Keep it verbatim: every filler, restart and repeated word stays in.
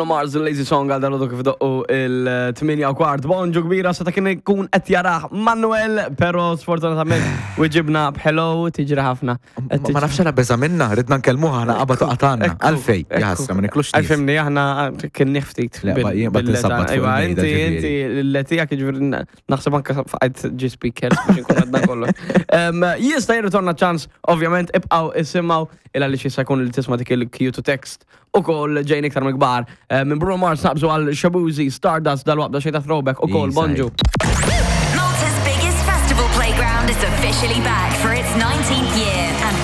Bruno Mars, Lazy Song għal dal kif doqqu il-tmienja u kwart. Bonġu kbira, seta kien ikun qed jarah Manuel, pero sfortunatament weġibna b'hello, tiġri ħafna. Ma nafx għala beża minna, ridna nkellmuha ħana qabad u qatgħana. Ekku, Għalfej, ekku. jaħasra, ma niklux nies. Għalfimni, aħna kien niftit. Le, ba- jien bat insabbat fuq Iva, il-mejda, inti, ġifieri. inti, l-tijak ġifieri naħseb anka faqajt ġi speakers biex nkun għadna kollox. Em, Jista jirritorna ċans, ovvjament, ibqaw isimgħu il għaliex jista' jkun li tisma' dik il-cue to text u koll ġejn iktar mill-kbar. Eh, Minn Bruno Mars naqbżu għal Shabuzi, Stardust, dal-waqt da xejta throwback u koll, Isa, bonġu. Malta's biggest festival playground is officially back for its nineteenth year and